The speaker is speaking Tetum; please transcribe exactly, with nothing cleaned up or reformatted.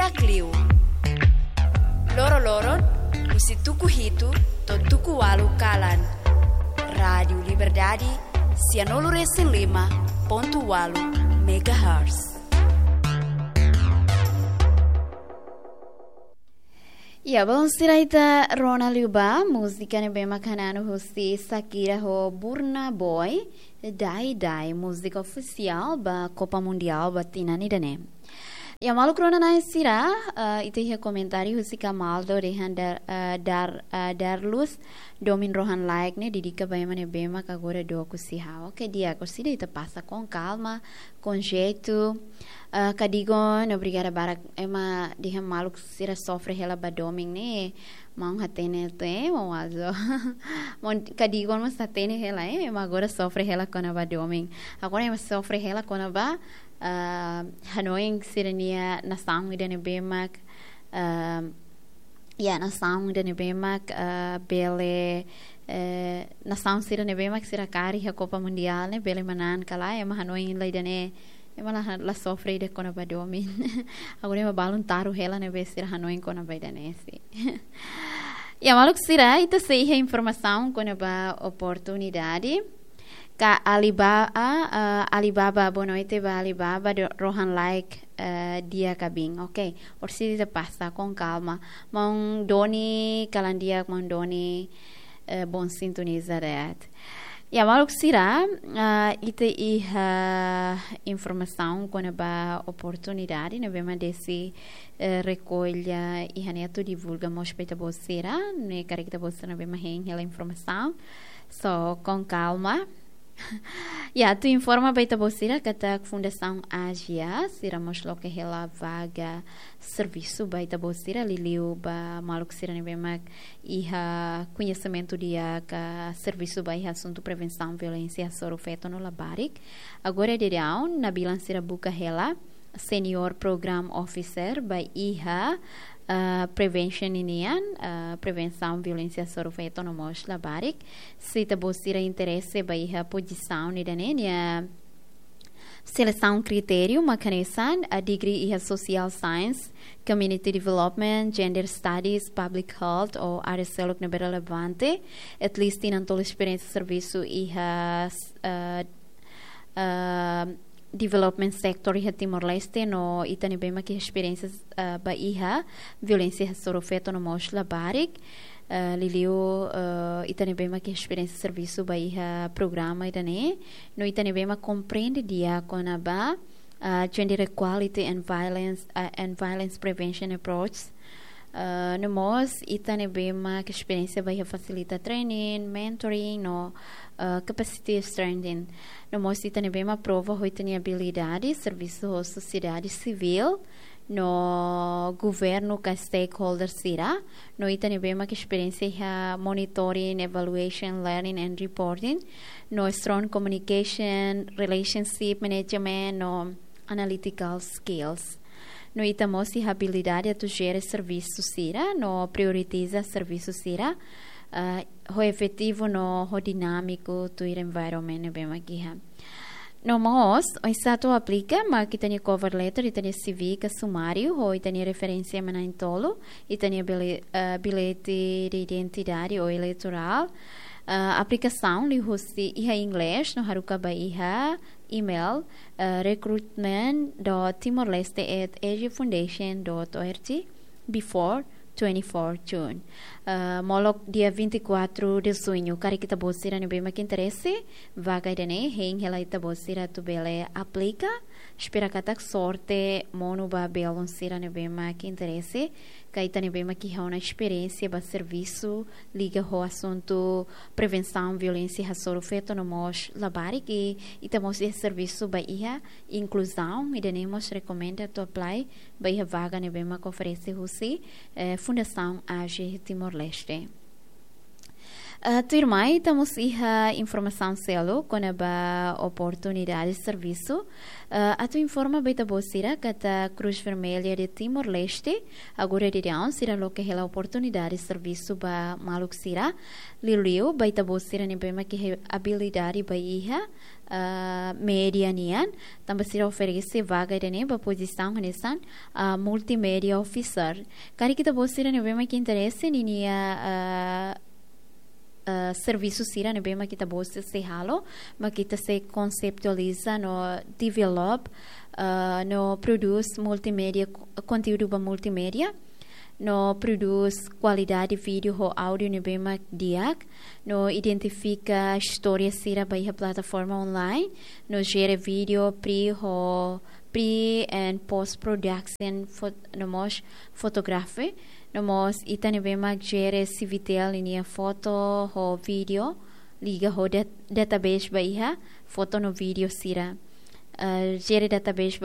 Takliu. Loroloron, husi tuku hitu to'o tuku ualu kalan. Rádiu Liberdade, sianulu-resin-lima pontu ualu megahertz. Ya, balun sira, ita rona liu ba múzika ne'ebé mak hananu husi Shakira ho Burna Boy, Dai Dai, múzika ofisiál ba Copa Mundial ba tinan ida-ne'e. Ya, maluk rona-na'in sira, eh, ita iha komentáriu husi Camaldo dehan Dar, eh, Dar, eh, Darlus, domin rohan-laek ne'e dedika ba ema ne'ebé mak agora dook husi ha'u. Oke, di'ak, orsida ita pasa com calma, com jeito. Eh, Kadigon, obrigada barak, ema dehan maluk sira sofre hela ba domin ne'e, maun hatene tiha, maun Wazo. Maun Kadigon mós hatene hela, eh, ema agora sofre hela kona-ba domin. Agora ema sofre hela kona-ba, ah, hanoin sira-nia nasaun ida ne'ebé mak, ah, ya, nasaun ida ne'ebé mak, ah, bele, eh, nasaun sira ne'ebé mak sira kaer iha Copa Mundial ne'e bele manán ka lae, ema hanoin la ida-ne'e, ema la, la sofre ida kona-ba domin. Agora ema balun taru hela ne'ebé sira hanoin kona-ba ida-ne'e, sin. Ya, maluk sira, ita sei iha informasaun kona-ba oportunidade. Ka Alibaba, ah, ah, Alibaba, boa noite ba Alibaba, do, rohan-laek, eh, di'ak ka biin. Oke, orsida ita pasa com calma. Maun Doni, kalan di'ak, maun Doni, eh, bom sintonizar, eh. Ya, maluk sira, ah, ita iha informasaun kona-ba oportunidade ne'ebé mak Desi, eh, rekolla iha ne'e atu divulga mós ba ita-boot sira, ne'e karik ita-boot sira ne'ebé mak hein hela informasaun. So, com calma. Ya, atu informa ba ita-boot sira katak Fundasaun Ágia, sira mós loke hela vaga servisu ba ita-boot sira, liuliu ba maluk sira ne'ebé mak iha koñesimentu di'ak ka servisu ba iha asuntu prevensaun violénsia hasoru feto no labarik. Agora daudaun, nabilan sira buka hela Senior Program Officer ba iha, ah, prevention ninian, ah, prevensaun violénsia hasoru feto no mós labarik. Se ita-boot sira interese ba iha pozisaun ida-ne'e, nia selesaun kritériu mak hanesan, ah, degree iha Social Science, Community Development, Gender Studies, Public Health ou área seluk ne'ebé relevante, at least tinan tolu esperiénsia servisu iha, ah, ah, development sector iha Timor-Leste, no ita ne'ebé mak iha esperiénsia, ah, ba iha violénsia hasoru feto no mós labarik. Ah, liuliu, ah, ita ne'ebé mak iha esperiénsia servisu ba iha programa ida-ne'e, no ita ne'ebé mak komprende di'ak kona-ba, ah, gender equality and violence, ah, and violence prevention approach. Ah, no mós ita ne'ebé mak esperiénsia ba iha fasilita training, mentoring, no, ah, capacity strengthening. No mós ita ne'ebé mak prova ho ita-nia abilidade servisu ho sosiedade sivíl no governu ka stakeholder sira. No ita ne'ebé mak esperiénsia iha monitoring, evaluation, learning and reporting. No strong communication, relationship management, no analytical skills. No ita mós iha abilidade atu jere servisu sira, no prioritiza servisu sira, ah, ho efetivu no ho dinámiku tuir environment ne'ebé mak iha. No mós, oinsá atu aplika, mak ita-nia cover letter, ita-nia C V ka sumáriu, ho ita-nia referénsia ema na'in-tolu, ita-nia bile-, ah, bilhete de identidade ou eleitorál. Ah, aplikasaun liuhusi iha inglés, no haruka ba iha email, eh, recruitment dot timor leste at asia foundation dot org before twenty-four June. Eh, molok dia vinte e quatro de junho, karik ita-boot sira ne'ebé mak interese, vaga ida-ne'e hein hela ita-boot sira atu bele aplika. Espera katak sorte monu ba belun sira ne'ebé mak interese, ka ita ne'ebé mak iha ona esperiénsia ba servisu liga ho asuntu prevensaun violénsia hasoru feto no mós labarik, i ita mós iha servisu ba iha inkluzaun, ida-ne'e mós rekomenda atu apply ba iha vaga ne'ebé mak oferese husi, eh, Fundasaun Age Timor-Leste. Ah, tuirmai, ita mós iha informasaun seluk kona-ba oportunidade servisu. Ah, atu informa ba ita-boot sira katak Cruz Vermelha de Timor-Leste agora daudaun sira loke hela oportunidade servisu ba maluk sira. Liuliu ba ita-boot sira ne'ebé mak iha abilidade ba iha, ah, média nian, tanba sira oferese vaga ida-ne'e ba pozisaun hanesan, ah, multimedia officer. Karik ita-boot sira ne'ebé mak interese ninia, ah, ah, servisu sira ne'ebé mak ita-boot sira sei halo, mak ita sei konseptualiza no develop, ah, no produce multimedia, konteúdu ba multimedia, no produce kualidade vídeo ho áudio ne'ebé mak di'ak, no identifika istória sira ba iha plataforma online, no jere vídeo pre ho pre and post production fot-, no mós fotografi, no mós ita ne'ebé mak jere Civitel ninia foto ho vídeo liga ho dat-, database ba iha foto no vídeo sira. Ah, jere database ba